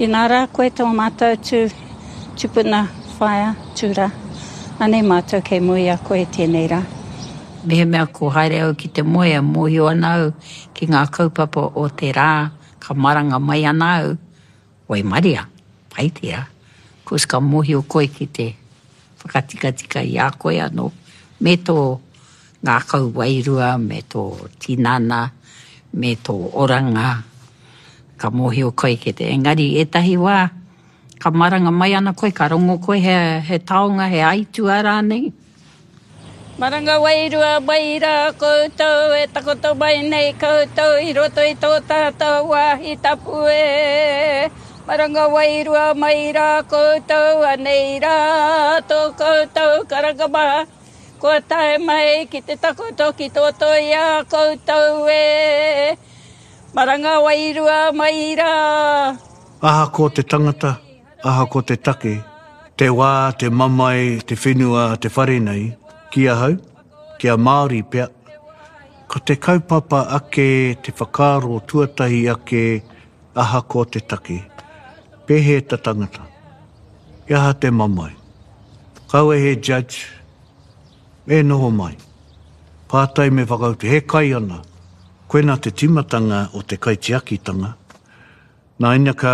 Inā rā koe tō mātou tū tupuna whaea tū rā. Anei mātou kei mua i a koe tēnei rā. Mehemea ko haere au ki te moe e mōhio ana au ki ngā kaupapa o te rā ka maranga mai ana au, waimaria, pai tērā, cause ka mōhio koe ki te whakatikatika i a koe anō me tō ngākau wairua me tō tinana me tō oranga, ka mōhio koe ki te, engari ētahi wā ka maranga mai ana koe, ka rongo koe he, he taonga, he aituā rānei. Maranga wairua mai rā koutou e takoto mai nei koutou i roto i tō tātou wāhi tapu e. Maranga wairua mai rā koutou anei rā tō koutou karanga maha. Kua tae mai ki te takoto ki tō toi a koutou e Maranga wairua mai rā. Ahakoa te tangata, ahakoa te take, te wā, te mamae, te whenua, te whare nei, ki ahau, ki a Māori pea, ko te kaupapa ake, te whakaaro tuatahi ake, ahakoa te take, pēhea te tangata? He aha te mamae? Kaua he judge, me noho mai. Pātai me whakautu, he kai ana. Koina te timatanga o te kaitiakitanga. Nā ina ka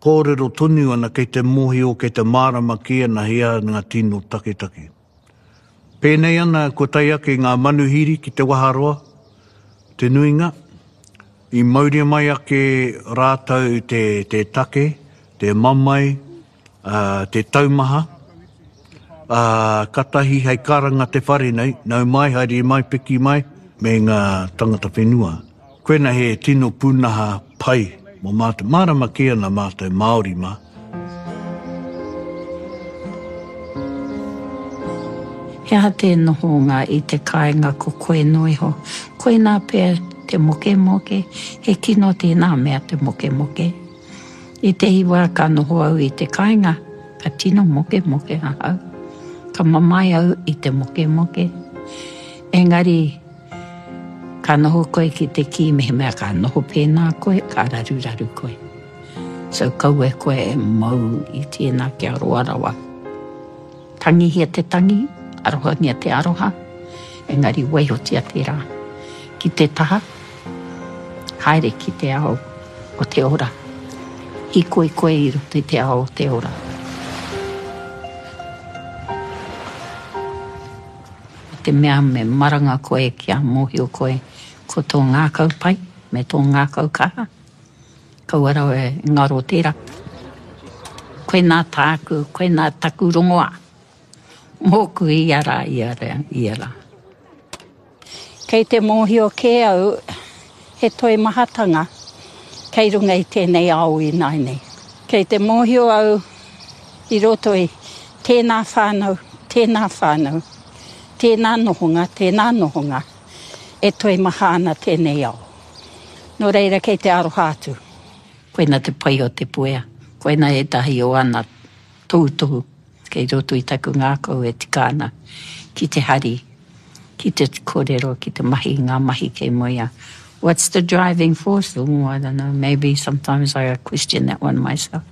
kōrero tonu ana kei te mōhio, kei te mārama kē ana he aha ngā tino taketake. Pēnei ana kua tae ake ngā manuhiri ki te waharoa, te nuinga, i mauria mai ake rātou te, te take, te mamae, ā, te taumaha, ā, katahi hei karanga te whare nei, nau mai, haere mai, piki mai, me ngā tangata whenua. Koina he tino pūnaha pai mō mātou. Mārama kē ana mātou Māori mā. He aha te nohonga i te kāinga ko koe noa iho? Koinā pea te mokemoke, he kino tēnā mea te mokemoke. Ētehi wā ka noho au i te kāinga, ka tino mokemoke ahau. Ka mamae au i te mokemoke. Engari, Ka noho koe ki te kī mehemea ka noho pēnā koe, ka raruraru koe. So kaua koe e mau i tēnā kia roa rawa. Tangihia te tangi, arohangia te aroha, engari waihotia tērā ki te taha, haere ki te ao o te ora. Hīkoi koe i roto i te ao o te ora. Ko te mea me maranga koe kia mōhio koe ko tō ngākau pai me tō ngākau kaha, kaua rawa e ngaro tērā. Koinā tāku, koinā taku rongoā mōku ia rā, ia rā, ia rā. Kei te mōhio kē au he toimahatanga kei runga i tēnei ao ināianei. Kei te mōhio au i roto i tēnā whānau, tēnā whānau, tēnā nohonga, tēnā nohonga, e toimaha ana tēnei ao. Nō reira kei te aroha atu. Koina te pai o Te Puea. Koina ētahi o ana tohutohu kei roto i taku ngākau e tika ana ki te hari, ki te kōrero, ki te mahi i ngā mahi kei mua i a What's the driving force? Oh, I don't know, maybe sometimes I question that one myself.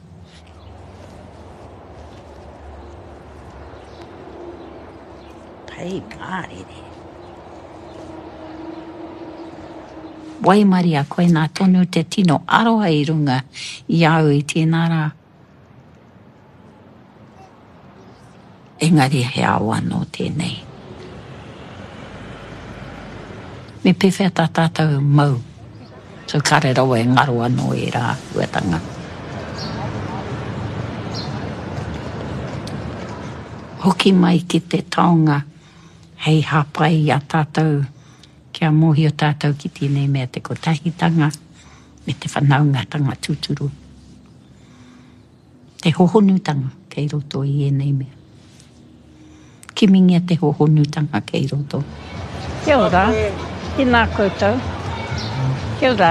Pai mārire. Waimaria, koinā tonu te tino aroha i runga i a au i tēnā rā. Engari he ao anō tēnei. Me pēwhea tā tātou mau? So kāre rawa e ngaro anō ērā āhuatanga. Hoki mai ki te taonga hei hāpai i a tātou kia mōhio tātou ki tēnei mea te kotahitanga me te whanaungatanga tūturu. Te hohonutanga kei roto i ēnei mea. Kimingia te hohonutanga kei roto. Kia ora, tēnā koutou. Kia ora.